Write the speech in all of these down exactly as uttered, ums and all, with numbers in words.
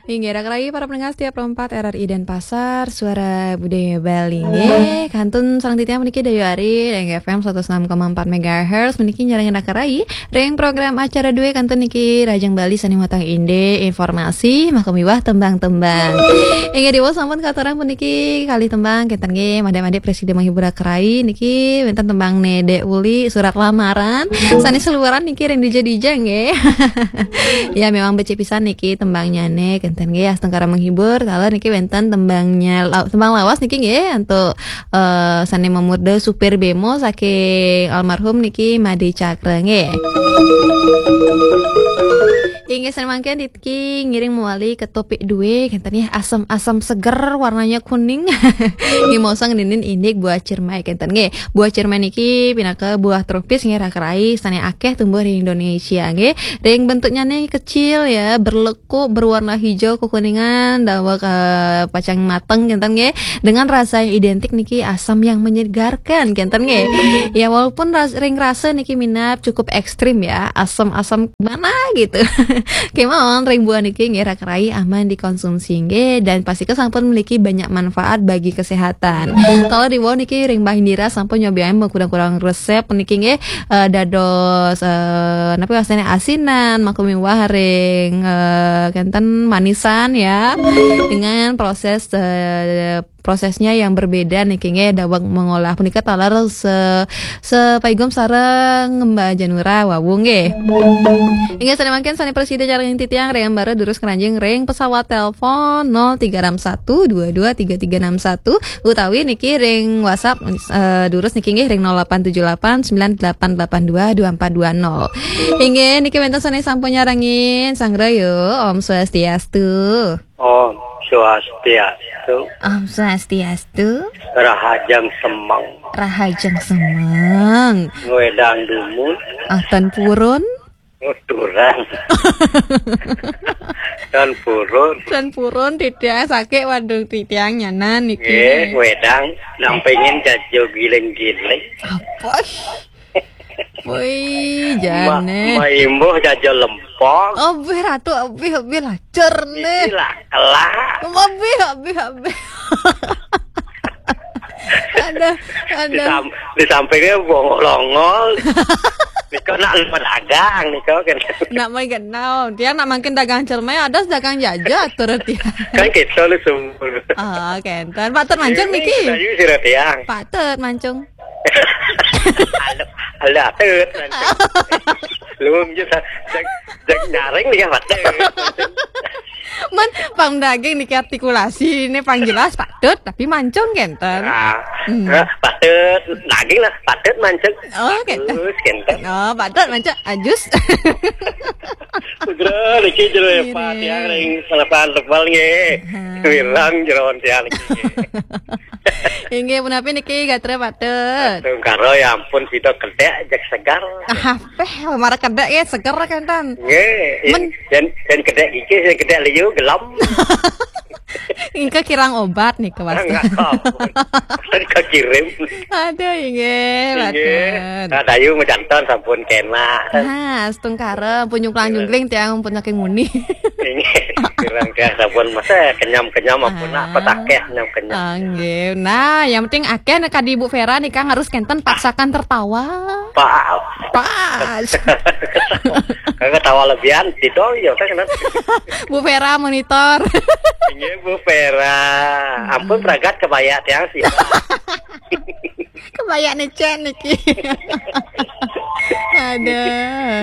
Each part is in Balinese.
Inggih, raka rayi para pendengar setia Pro empat R R I Denpasar, suara budaya Bali. Nggih, kantun sareng titiang puniki Dayu Ari, ring F M seratus enam koma empat megahertz, puniki nyarengin raka rayi ring program acara dué kantun niki, Rahajeng Bali sané matang indik, informasi, makumiwah tembang-tembang. Inggih, diwau sampun katurang puniki kalih tembang, kénten nggih, Madé-madé prasida menghibur raka rayi niki, wénten tembangné Dék Uli, Surat Lamaran, sané saluaran niki ring dija-dija nggih. Ya, memang becik pisan niki tembangnyané, kénten nggih, astungkara menghibur, taler niki wénten tembangnya, la-, tembang lawas niki nggih, antuk, eh, sané mamurda Supir Bémo saking almarhum niki Madé Cakra nggih. Inggih, sané mangkin niki ngiring mawali ka topik dué, kénten nggih, asam-asam seger, warnanya kuning. Nggih, maos ngeninin indik buah cirmai, kénten nggih. Buah cirmai niki pinaka buah tropis nggih, raka rayi, sané akéh tumbuh di Indonesia nggih. Ring bentuknyané kecil ya, berlekuk, berwarna hijau kekuningan, daweg, eh, pacang mateng, kénten nggih. Dengan rasa yang identik niki asam yang menyegarkan, kénten nggih. Ya, walaupun ras-, ring rasa niki minab cukup ekstrim ya, asam-asam gimana gitu. Kémaon ring buah niki nggih, raka rayi, aman dikonsumsi nggih, dan pastika sampun memiliki banyak manfaat bagi kesehatan. Kalau di wau niki ring Mbah Indira sampun nyobiain kurang-kurang resep niki nggih, eh, dados, eh, napa wastané asinan, makumiwah ring, eh, kénten manisan ya, dengan proses, eh, prosesnya yang berbeda niki nggih, daweg mengolah punika taler se-, sepaigum sareng Mbah Janura wau nggih. Inggih, sané mangkin sané prasida nyarengin titiang ring ambara durus ngranjing ring pesawat telepon nol tiga enam satu dua dua tiga tiga enam satu utawi niki ring WhatsApp, eh, durus niki nggih ring nol delapan tujuh delapan sembilan delapan delapan dua dua empat dua nol. Inggih, niki wénten sané sampun nyarengin, Sang Raya, Om Swastiastu. Om Swastiastu. Om Swastiastu. Rahajeng semeng. Rahajeng semeng. Ngwédang dumun. Ah, tan purun. Nuturan. Tan purun. Tan purun, titiang sakit, waduh, titiang nyanan niki. Nggih, ngwédang nampingin jajo giling-giling. Apa? Woi, Ma-, jane. Maimbuh jajo lempong. Obih, Ratu, obih, obih, lacur nih. Isi lah, kelak. Obih, obih, obih. Ada, ada. Di sam-, di sampingnya bongol-ongol. Nika nak lupa dagang, nika kan. Nak mai kenal. Dia nak makin dagang cermai, ada dagang jaja, atur dia. Kan kita lu sumur. Ah, kenten. Patut mancung niki. Ayo, sira tiang. Patut mancung. Halo, halo, patut mancung. Lu, jak, jak, jak nyaring nih, patut. Man, pang daging niki artikulasi, ini pang jelas patut, tapi mancung kenten. Ah, hmm. Eh, patut, daging lah, patut mancung. Oh, kenten. Bagus, kenten. Oh, patut mancung, ajus. Putra, niki jero ya, Pak, tiang ring selepan tebal nggih. Ha. Wirang jeroan tiang niki. Inggih, punapi niki gatra patut. Tungkara ya ampun, sida kedek, jak segar. Ah, peh, mara kedek ya, seger kenten. Nggih, men- yen, yen kedek iki, yen kedek liu, gelem. Engke kirang obat nih, Mas. Enggak tahu. Kan kakirim. Aduh, inggih, inggih. Patut. Nah, Dayu majanten sampun kenak. Ah, astungkara, pun nyungklang-nyungkling tiang pun saking muni. Inggih, kirang tiang sampun masa kenyam-kenyam ampun, ah, apa takeh kenyam-kenyam. Ah, nggih. Nah, yang penting akeh nek kadi Bu Vera nih, Kang, harus kenten paksakan tertawa. Pas. Pas. Kagak tawa lebihan, didol ya, kan, kan. Bu Vera monitor. Inggih, Bu Vera. Ampun, pragat kebaya tiang sih. Kebaya necen niki. Ada.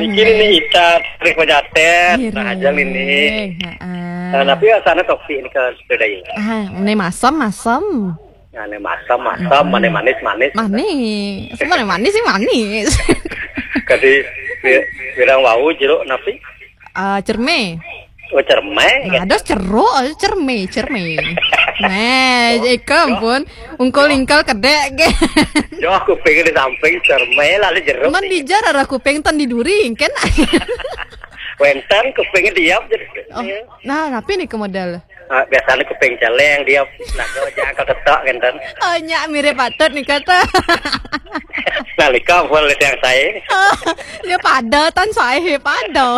Niki nih Ita, Trik Pejaten, nah, ajang ini. Heeh. Nah, tapi asana topi ini ke sepeda ini. Ah, ini masem, masem. Nah, ini masem, masem, manis, manis, manis. Manis. Semua manis sih manis. Kadi wi-, wirang wau jeruk napi? Ah, cerme. Oh, cerme. Nah, ada ceruk, ada cerme, cerme. Nah, oh, ika ampun, ungkul ingkal kedek ke. Yo, kuping di samping cerme, lalu jeruk. Man dijar arah kuping ten di duri, kan? Wenten kupingnya diam, jadi. Oh, nah, tapi nih ke modal. Ah, biasanya kuping celeng, dia lagu aja angkat ketok, kan? Oh, nyak mirip patut nih, kata. Nalika ampun lihat yang saya. Oh, dia pada, tan saya pada.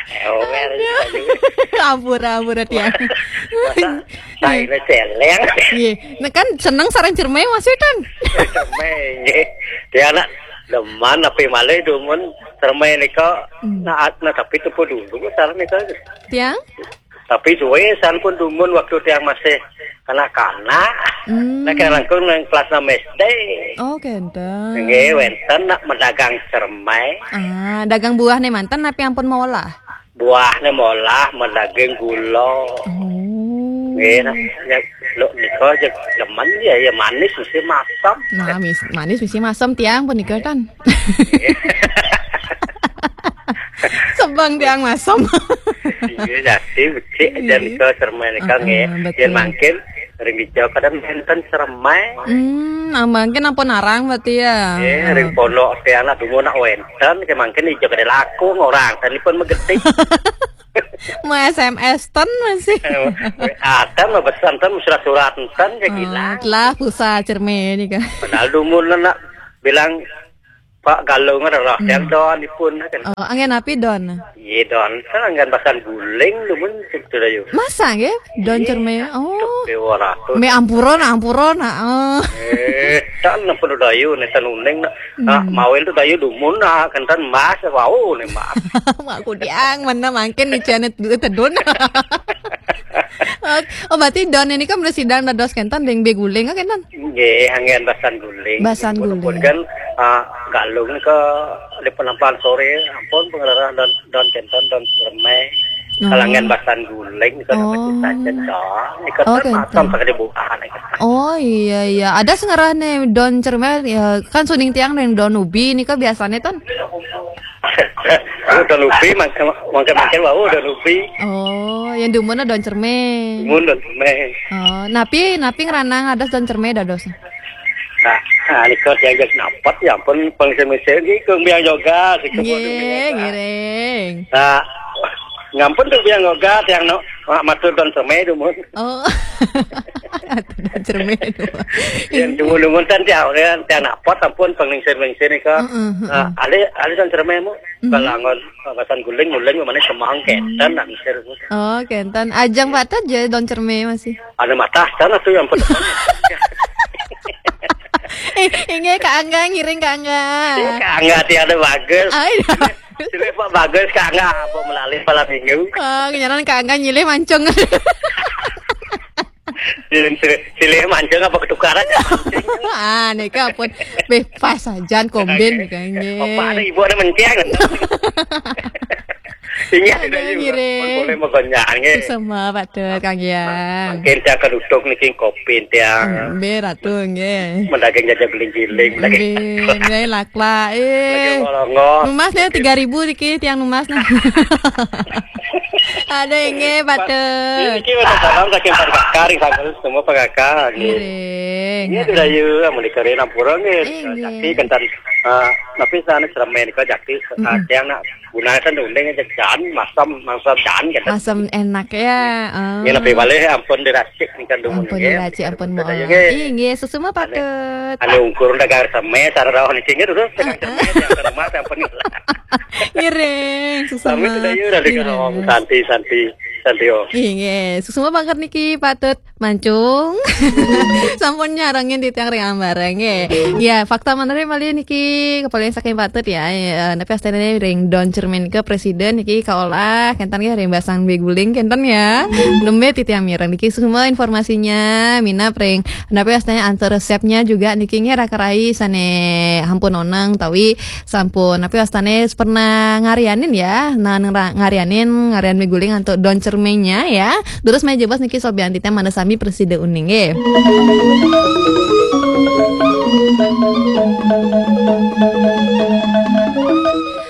Ewel. Ampura, ampura tiang. Masa taine celeng. Nggih. Nah, kan seneng sareng cerme Mas Wetan. Cerme nggih. Tiang nak demen tapi malih dumun cerme nika. Hmm. Nah, nah, tapi tupu dulu sareng nika. Tiang? Tapi suwe sampun dumun waktu tiang masih kanak-kanak. Hmm. Nah, kira langkung nang kelas enam S D. Oh, kenten. Nggih, wenten nak medagang cerme. Ah, dagang buah nih manten tapi ampun molah. Buahnya molah, medaging gula. Oh. Nggih, nah, ya, lo nika aja demen ya, ya manis mesti masam. Nah, mis-, manis mesti masam tiang punika kan. Sebang tiang masam. Iya, jadi becik aja nika cerme nika. Heeh, nggih. Betul. Yen mangkin ring dija kadang wenten cerme. Hmm, nah, mangkin ampun arang berarti ya. Eh, ring pondok tiang nak dumun nak wenten, ke mangkin dija kadang laku orang, dan pun megetik. Mau S M S ten masih. Eh, W A ten, mau pesan ten, surat-surat ten, kayak gila. Telah pulsa cerme nika. Padahal dumun nak bilang Pak Galung ada roh, yang don ipun kan. Oh, anggen napi don? Iya don, kan anggen basan guling dumun situ dayu. Masa nggih? Don cerme. Oh. Dewa ratus. Me ampura, ampura. Oh. Eh, tan pun dayu ne tan uning nak. Nah, mawel tu dayu dumun nak, kan tan mas wau ne mas. Mak kudiang mana mangkin ni channel tedun. Oh, berarti don ini kan bersidang dados kenten deng beguling kan kenten? Nggih, anggen basan guling. Basan guling. Pun kan, ah, Galung ke di penampan sore, ampun pengelarang don, don kenten, don cerme. Oh. Kalangan basan guling, itu dapat kita aja don. Nika oh, macam kenten. Pada buahan nika. Oh, iya, iya. Ada sengarah nih don cerme, ya, kan suning tiang nih don ubi, nika biasanya tan. Oh, don ubi, mangke-mangke wau don ubi. Oh, yang dumun don cerme. Dumun don cerme. Oh, napi, napi ngranang adas don cerme dados. Nah, nah, nika diajak napet, ya ampun, pengsemese iki kung biang yoga, siku. Nggih, ngiring. Nah, ngampun tuh biang yoga, tiang no, ma-, matur don cerme dumun. Oh. Don cerme dumun. Yang dumun-dumun tan tiang, tiang napet, ampun, pengningsir-ningsir nika. Heeh, heeh. Nah, alih, alih don cerme mu. Mhm. Balangon, basan guling, muling, mana semang, kenten, nak misir. Oh, kenten. Ajang patut aja don cerme masih. Ada matah, sana tuh yang penting. Eh, inggih Kak Angga, ngiring Kak Angga. Iya, Kak Angga, tiada bagus. Ai. Sini Pak bagus, Kak Angga, apa melalui malam minggu? Oh, kenyaran Kak Angga nyilih mancung. Silih, silih, silih mancung apa ketukaran? Ah, nika pun bebas sajan kombin nika nggih. Apa ada ibu ada menceng? Iya, ada ngiring. Boleh magonjang nggih. Sama patut Kang Giang. Mungkin tiang kedutuk niki kopi tiang. Nggih, Ratu nggih. Mendagang jajan guling-guling, mendagang. Nggih, nggih, lak-lak. Eh. Lagi ngolongok. Numas nih tiga ribu niki tiang numas nah. Ada nggih, patut. Niki wonten salam saking Pak Kakak, ring sanggar semua Pak Kakak, nggih. Ngiring. Nggih, sudah yuk, amun dikeri nampura, nggih. Eh, nggih. Tapi kenten, eh, tapi sana cerme nika jati, mm-mm, tiang nak gunakan uning aja jan, masam, masam jan, kenten. Masam enak ya, oh. Nggih, lebih balik ampun diracik nika dumun, ampun nggih. Diracik, ampun, sudah yuk, nggih. Ih, nggih, susuma patut. Anu ungkur dagang cerme, sareng rauh niki, nggih, terus dagang cerme, yang rumah, yang pengilang. Ngiring, susuma. Sami sudah yuk, dari Ngiring. Sarong, santi, santi, santi, oh. Inggih, susuma banget niki patut mancung. Sampun nyarengin di tiang ring ambareng nggih. Ya, fakta menarik malih niki kepala saking patut ya. Ya, tapi astane ring don cermin ke presiden niki kaolah kenten nggih ring basang beguling kenten ya. Nembe titiang mireng niki semua informasinya minab ring. Tapi astane antar resepnya juga niki nggih raka rai sane ampun oneng tawi sampun, tapi wastane pernah ngarianin ya. Nah, neng ra-, ngarianin, ngarian miguling antuk don cermenya ya. Terus main jebas niki sobian titnya mana sami presida uning nggih.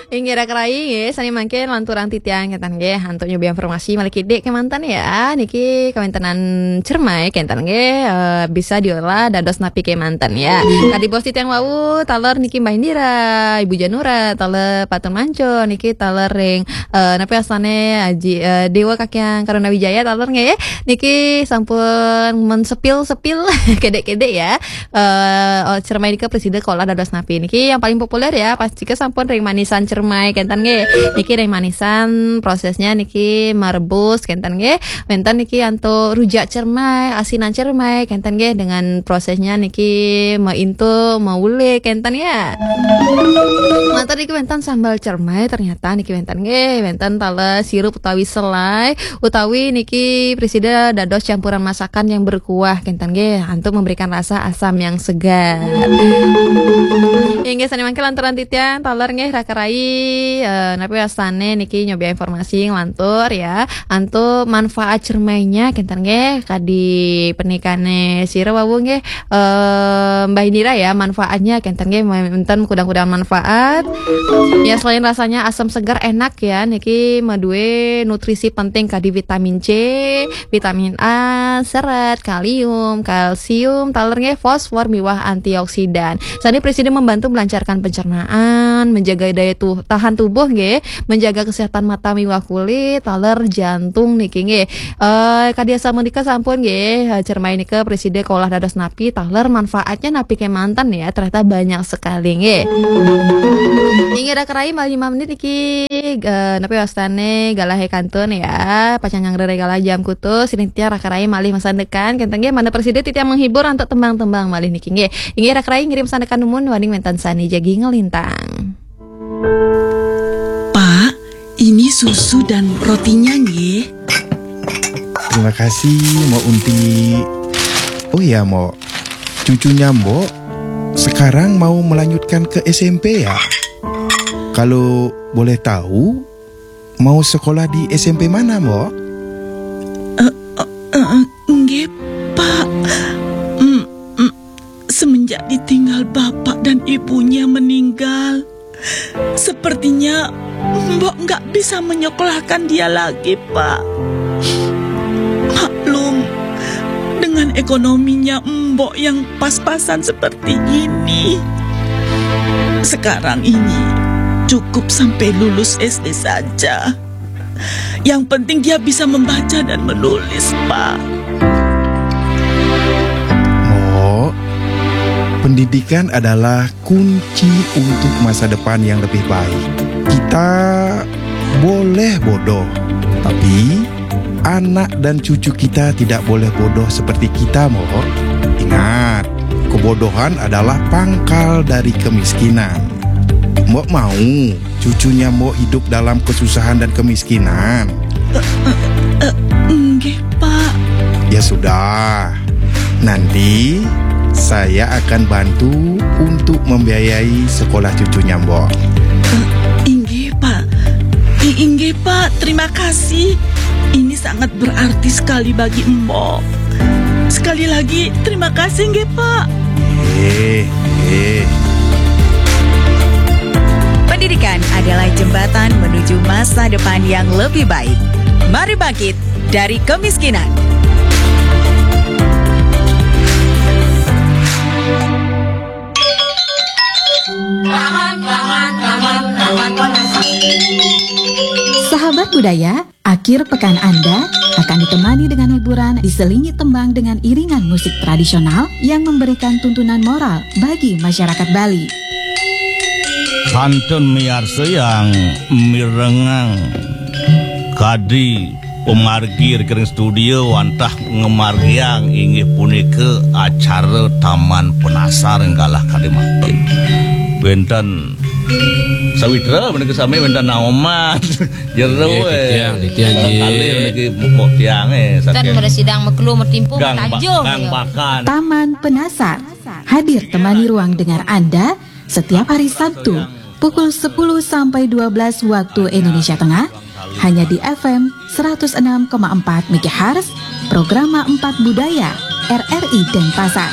Inggih raka rai nggih, sani mangkin lanturang titiang kenten nggih, antuk nyobi informasi malih kidik kemanten ya. Niki kemantenan cermai kenten nggih, eh, bisa diolah dados napi kemanten ya. Tadi bos titiang wau, taler niki Mbah Indira, Ibu Janura, taler Patun Manco, niki taler ring, eh, napi asane Aji, eh, Dewa Kakyang Karuna Wijaya, taler nggih. Niki sampun men sepil-sepil kedek-kedek ya. Eh, oh, cermai nika presida kolah dados napi. Niki yang paling populer ya, pas jika sampun ring manisan cermai kenten nggih. Niki dari manisan prosesnya niki merebus kenten nggih. Wenten niki antuk rujak cermai, asinan cermai kenten nggih, dengan prosesnya niki meintuk, meulik kenten ya. Manten niki wenten sambal cermai, ternyata niki wenten nggih, wenten taler sirup utawi selai, utawi niki presida dados campuran masakan yang berkuah kenten nggih, untuk memberikan rasa asam yang segar. Inggih, sane mangke lanturan titiang taler nggih, raka rai, eh, napi wastane niki nyobi informasi nglantur ya. Antuk manfaat cermainya kenten nggih, kadi penikane sira wau nggih, eh, Mbah Indira ya, manfaatnya kenten nggih, wenten kudang-kudang manfaat. Ya, selain rasanya asam segar enak ya, niki madue nutrisi penting kadi vitamin C, vitamin A, serat, kalium, kalsium, taler nggih, fosfor miwah antioksidan. Sane presida membantu melancarkan pencernaan, menjaga daya tu-, tahan tubuh nggih, menjaga kesehatan mata miwah kulit, taler jantung niki nggih. Eh, kadi asam menika sampun nggih, eh, cermai nika presida kaolah dados napi, taler manfaatnya napi kemanten ya, ternyata banyak sekali nggih. Inggih raka rai malih lima menit niki, eh, napi wastane galahe kantun ya, pacang nyanggrere galah jam kutus, sinitiang raka rai malih masandekan, kenten nggih, mangda presida titiang menghibur antuk tembang-tembang malih niki nggih. Inggih raka rai ngirim sandekan dumun, waning wenten sane jagi ngelintang. Pak, ini susu dan rotinya nggih. Terima kasih, Mbok Unti. Oh ya, Mbok. Cucunya Mbok sekarang mau melanjutkan ke S M P ya? Kalau boleh tahu, mau sekolah di S M P mana, Mbok? Eh, eh, eh, nggih, Pak. Mm, mm, semenjak ditinggal bapak dan ibunya meninggal, sepertinya Mbok nggak bisa menyekolahkan dia lagi, Pak. Maklum, dengan ekonominya Mbok yang pas-pasan seperti ini, sekarang ini cukup sampai lulus S D saja. Yang penting dia bisa membaca dan menulis, Pak. Mbok, pendidikan adalah kunci untuk masa depan yang lebih baik. Kita boleh bodoh, tapi anak dan cucu kita tidak boleh bodoh seperti kita, Mbok. Ingat, kebodohan adalah pangkal dari kemiskinan. Mbok mau cucunya Mbok hidup dalam kesusahan dan kemiskinan? Eh, eh, eh, nggih, Pak. Ya sudah, nanti saya akan bantu untuk membiayai sekolah cucunya Mbok. Eh, inggih, Pak. I-, inggih, Pak. Terima kasih. Ini sangat berarti sekali bagi Mbok. Sekali lagi, terima kasih, nggih, Pak. Eh, eh. Pendidikan adalah jembatan menuju masa depan yang lebih baik. Mari bangkit dari kemiskinan. Sahabat budaya, akhir pekan Anda akan ditemani dengan hiburan diselingi tembang dengan iringan musik tradisional yang memberikan tuntunan moral bagi masyarakat Bali. Kantun miarsa yang mirengang kadi pamargi ring studio wantah ngamargiang inggih punika acara Taman Penasar galah kadi mangkin. Wenten sawitra menika sami wenten naoman. Jero, nggih, eh. Titiang, titiang, nggih. Kalih niki mupuk tiang, eh, kan saking mresidang meklu metimpu gang ba-, metajuh, gang ya. Bakan. Taman Penasar hadir temani ruang dengar Anda setiap hari Sabtu pukul sepuluh sampai dua belas waktu Indonesia Tengah, hanya di F M seratus enam koma empat megahertz, Programa empat Budaya, R R I Denpasar.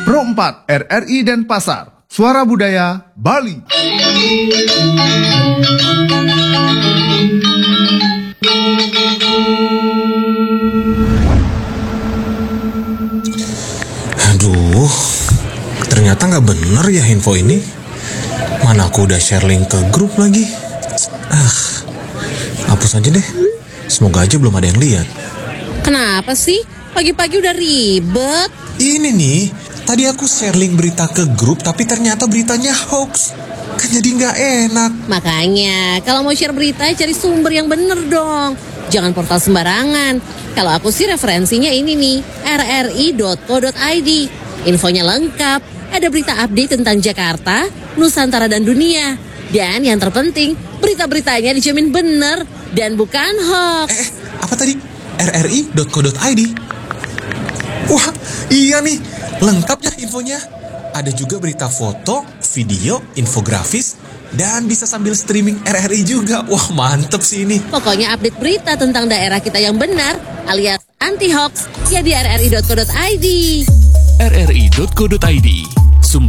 Pro empat R R I Denpasar, Suara Budaya Bali. Aduh, ternyata nggak bener ya info ini. Mana aku udah share link ke grup lagi. Ah, hapus aja deh. Semoga aja belum ada yang lihat. Kenapa sih? Pagi-pagi udah ribet. Ini nih, tadi aku share link berita ke grup tapi ternyata beritanya hoax. Kan jadi nggak enak. Makanya, kalau mau share berita, cari sumber yang bener dong. Jangan portal sembarangan. Kalau aku sih referensinya ini nih, rri.co.id. Infonya lengkap. Ada berita update tentang Jakarta, Nusantara dan dunia. Dan yang terpenting, berita-beritanya dijamin bener dan bukan hoax. Eh, apa tadi? rri.co.id. Wah, iya nih, lengkap ya infonya. Ada juga berita foto, video, infografis, dan bisa sambil streaming RRI juga. Wah, mantep sih ini. Pokoknya update berita tentang daerah kita yang benar alias anti hoax ya di rri.co.id. rri.co.id.